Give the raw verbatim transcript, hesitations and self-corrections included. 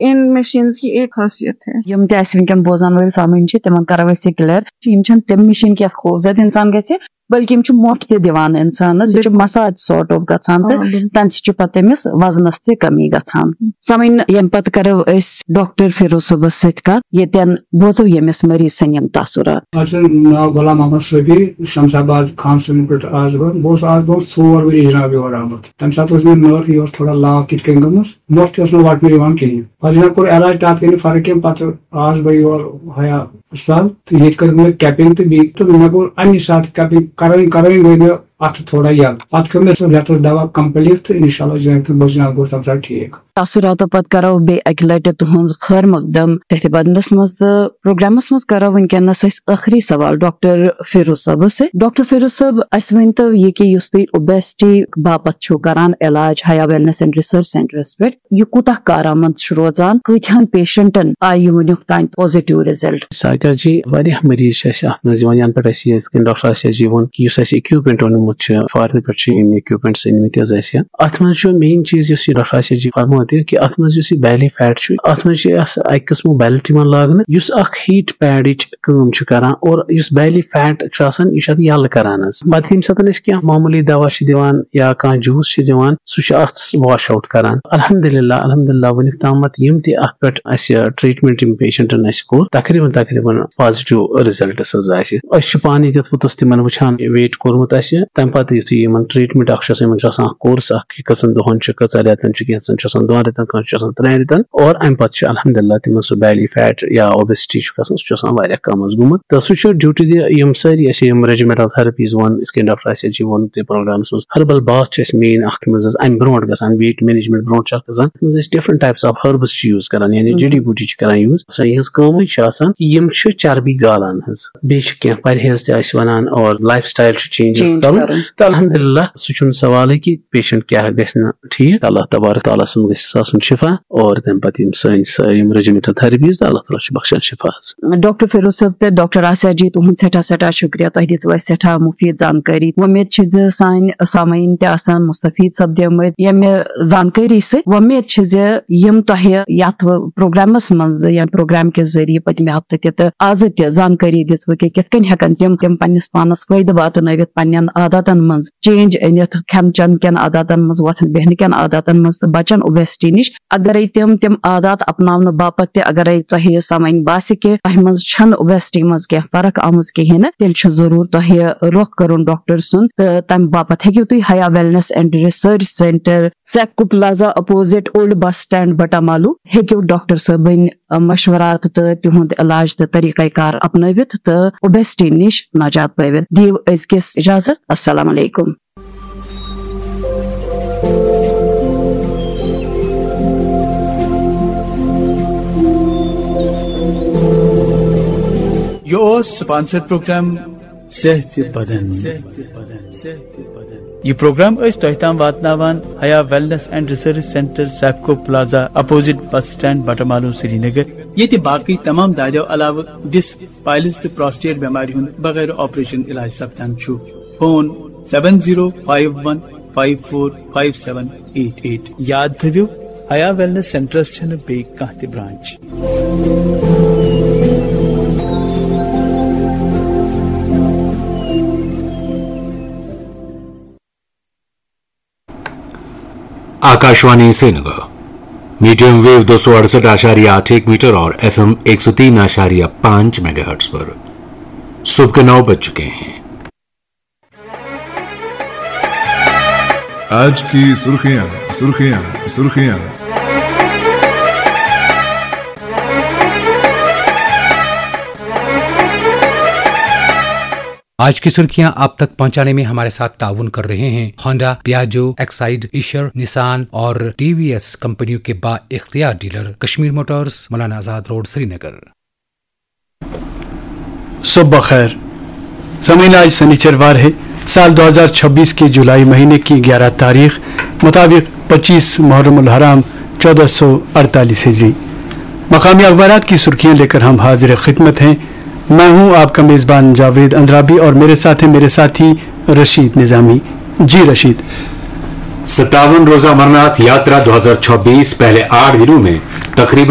इन machines की एक खासियत है। یِم تہِ اَسہِ وٕنکیٚن بوزَن وٲلۍ سامعیٖن چھِ، تِمَن کَرو أسۍ یہِ clear، یِم چھِنہٕ تِم مِشیٖن کہِ یَتھ خوٗبصوٗرت اِنسان گژھِ، بلکہِ یِم چھِ مۄٹھ تہِ دِوان اِنسانَس، یہِ چھُ بِلکُل۔ Massage sort of گژھان تہٕ آ، بِلکُل۔ تَمہِ سۭتۍ چھُ پَتہٕ تٔمِس وزنَس تہِ کمی گژھان۔ سامعیٖن، ییٚمہِ پَتہٕ کَرو أسۍ ڈاکٹر فیروز صٲبَس سۭتۍ کَتھ، ییٚتٮ۪ن بوزو ییٚمِس مریض سٕنٛدۍ یِم تاثرات۔ اَتھ چھُ ناو غلام محمد صٲبی، شمس آباد خان صٲبنہِ پٮ۪ٹھ آز برونٛہہ۔ بہٕ اوسُس آز برونٛہہ ژور ؤری جناب یور آمُت۔ تَمہِ ساتہٕ ٲس مےٚ نٔر، یہِ اوس تھوڑا لاو کِتھ کٔنۍ گٔمٕژ، مۄٹھ تہِ ٲس نہٕ وَٹنہٕ یِوان کِہیٖنۍ۔ پَتہٕ جناب کوٚر علاج، تَتھ گٔے نہٕ فرق کینٛہہ۔ پَتہٕ آس بہٕ یور حیا ہسپتال تہٕ ییٚتہِ کٔر مےٚ capping تہٕ بیٚیہِ تہٕ مےٚ گوٚو اَمی ساتہٕ capping کَرٲنۍ کَرٲنۍ گٔے مےٚ اَتھٕ تھوڑا یَلہٕ۔ پَتہٕ کھیوٚو مےٚ سُہ رٮ۪تَس دَوا complete تہٕ اِنشاء اللہ جناب بہٕ جناب گوٚوُس تَمہِ ساتہٕ ٹھیٖک۔ تاثراتو پتہٕ کرو بیٚیہِ اَکہِ لٹہِ تُہُنٛد خٲر مقدم تٔتھۍ بدنس منٛز، تہٕ پروگرامس منٛز کرو وٕنکیٚنس أسۍ ٲخری سوال ڈاکٹر فیروز صٲبس سۭتۍ۔ ڈاکٹر فیروز صٲب، اسہِ ؤنۍ تو یہِ کہِ یُس تُہۍ obesity باپتھ چھِو کران علاج حیا wellness and research centreس پٮ۪ٹھ، یہِ کوٗتاہ کارآمد چھُ روزان؟ کۭتہن patientن آیہِ یہِ وٕنیُک تام positive result؟ ساگر جی، واریاہ مریض چھِ اَسہِ اَتھ منٛز یِوان، یَنہٕ پٮ۪ٹھ اَسہِ یہِ یِتھ کٔنۍ ڈاکٹر آسیا جی ووٚن کہِ یُس اَسہِ equipment اوٚنمُت چھُ، foreignہٕ پٮ۪ٹھ چھِ یِم equipments أنمٕتۍ حظ اَسہِ۔ اَتھ منٛز چھُ main چیٖز یُس یہِ ڈاکٹر آسیا جی فرموو تہِ کہِ اَتھ منٛز یُس یہِ belly fat چھُ، اَتھ منٛز چھِ اَسہِ اَکہِ قٕسمُک belt یِوان لاگنہٕ، یُس اَکھ heat padٕچ کٲم چھُ کران اور یُس belly fat چھُ آسان، یہِ چھُ اَتھ یَلہٕ کران حظ۔ پَتہٕ ییٚمہِ ساتہٕ أسۍ کینٛہہ معموٗلی دوا چھِ دِوان یا کانٛہہ juice چھِ دِوان، سُہ چھُ اَتھ wash out کران۔ الحمدللہ، الحمدللہ، وٕنیُک تامَتھ یِم تہِ اَتھ پٮ۪ٹھ اَسہِ treatment یِم patientن اَسہِ کوٚر، تقریباً، تقریباً positive results حظ آسہِ۔ أسۍ چھِ پانہٕ ییٚتٮ۪تھ پوٚتُس تِمن وٕچھان، weight کوٚرمُت اَسہِ، تَمہِ پَتہٕ یُتھُے یِمن treatment اَکھ چھُ آسان، یِمن چھُ آسان اَکھ course اَکھ، یہِ کٔژَن دۄہَن چھُ، کٔژَن رٮ۪تَن چھُ، کینٛژَن چھُ آسان دۄن رٮ۪تَن، کٲنٛسہِ چھُ آسان ترٛٮ۪ن رٮ۪تَن، اور اَمہِ پَتہٕ چھُ الحمدللہ تِمن سُہ belly fat یا obesity چھُ گژھان، سُہ چھُ آسان واریاہ کَم حظ گوٚمُت۔ تہٕ سُہ چھُ due to the یِم سٲری اَسہِ یِم regimental therapies ووٚن، یِتھ کٔنۍ ڈاکٹر آسیا جی ووٚن تہِ پروگرامَس منٛز، herbal bath چھِ اَسہِ main اَکھ منٛز حظ، اَمہِ برونٛٹھ گژھان، weight management برونٛٹھ چھُ اَکھ گژھان، اَتھ منٛز ٲسۍ different types of herbs چھِ use کران، یعنی مم۔ جڑی بوٗٹی چھِ کران use۔ سۄ یِہنٛز کٲمٕے چھِ آسان، یِم چھِ چربی گالان حظ۔ بیٚیہِ چھِ کینٛہہ پرہیز تہِ اَسہِ وَنان اور lifestyle چھُ changes change کرُن۔ کرُن۔ تہٕ الحمدللہ، سُہ چھُنہٕ سوالٕے کہِ patient کیٛاہ گژھِ نہٕ ٹھیٖک۔ اللہ تبارک تعالیٰ سُنٛد گژھِ آسُن شفا اور تَمہِ پَتہٕ یِم سٲنۍ سٲ-، یِم regimental therapies تہٕ اللہ تعالیٰ چھُ بخشان شفا حظ۔ ڈاکٹر فیروز صٲب تہٕ ڈاکٹر آسیا جی، تُہُنٛد سٮ۪ٹھاہ سٮ۪ٹھاہ شُکریہ۔ تۄہہِ دِژوٕ اَسہِ سٮ۪ٹھاہ مُفیٖد زانکٲری۔ وۄمید چھِ زِ سانہِ سامعیٖن تہِ آسَن مُستفیٖد سپدیمٕتۍ ییٚمہِ زانکٲری سۭتۍ۔ وۄمید چھِ زِ یِم تۄہہِ یَتھ پروگرامَس منٛز یا پروگرام کہِ ذٔریعہٕ پٔتمہِ ہفتہٕ تہِ تہٕ آزٕ تہِ زانکٲری دِژوٕ کہِ کِتھ کٔنۍ ہٮ۪کَن تِم، تِم پنٛنِس پانَس فٲیدٕ واتنٲوِتھ، پنٛنٮ۪ن عاداتَن منٛز change أنِتھ، کھٮ۪ن چٮ۪ن کٮ۪ن عاداتَن منٛز، وۄتھَن بیٚہنہٕ کٮ۪ن عاداتَن منٛز تہٕ بَچَن obesity نِش۔ اگرے تِم تِم عادات اپناونہٕ باپتھ تہِ اگرے تۄہہِ سمجھ باسہِ کہِ تۄہہِ منٛز چھنہٕ obesity منٛز کینٛہہ فرق آمٕژ کِہیٖنۍ نہٕ، تیٚلہِ چھُ ضروٗر تۄہہِ رۄخ کرُن ڈاکٹر سُنٛد۔ تہٕ تمہِ باپتھ ہیٚکِو تُہۍ حیا wellness and research centre Sico plaza opposite old bus stand Batamaloo ہیٚکِو ڈاکٹر صٲبٕنۍ مشورات تہٕ تِہُنٛد علاج تہٕ طریقہ کار اپنٲوِتھ تہٕ obesity نِش نجات پٲوِتھ۔ دِیِو أزکِس اجازت۔ السلام علیکم۔ یہِ اوس sponsored program صحت بدن۔ یہِ پروگرام ٲسۍ تۄہہِ تام واتناوان حیا wellness and research centre Sipco plaza opposite bus stand Batamaloo Srinagar. ییٚتہِ باقٕے تمام دادیو علاوٕ disc، piles تہٕ prostate بٮ۪مارِ ہُنٛد بغٲر operation علاج سپدان چھُ۔ Phone seven zero five one five four five seven eight eight۔ یاد تھٲوِو، حیا wellness centreس چھنہٕ بیٚیہِ کانٛہہ تہِ branch۔ Akashvani Srinagar, medium wave دو سو اڑسٹھ اعشاریہ آٹھ ایک میٹر اور ایف ایم ایک سو تین اعشاریہ پانچ میگا ہرٹز پر۔ صبح کے نو بج چکے ہیں۔ آج کی سرخیاں، سرخیاں، سرخیاں۔ آج کی سرخیاں آپ تک پہنچانے میں ہمارے ساتھ تعاون کر رہے ہیں ہونڈا، پیاجو، ایکسائیڈ، ایشر، نسان اور ٹی وی ایس کمپنیوں کے با اختیار dealer Kashmir Motors, Maulana Azad road, سری نگر۔ صبح بخیر۔ سامعین، آج سنیچروار ہے، سال دو ہزار چھبیس کے جولائی مہینے کی گیارہ تاریخ، مطابق پچیس محرم الحرام چودہ سو اڑتالیس ہجری۔ مقامی اخبارات کی سرخیاں لے کر ہم حاضر خدمت ہیں۔ میں ہوں آپ کا میزبان جاوید اندرابی اور میرے ساتھ ہیں میرے ساتھی رشید نظامی۔ جی رشید۔ ستاون روزہ امرناتھ یاترا دو ہزار چھبیس پہلے آٹھ دنوں میں تقریباً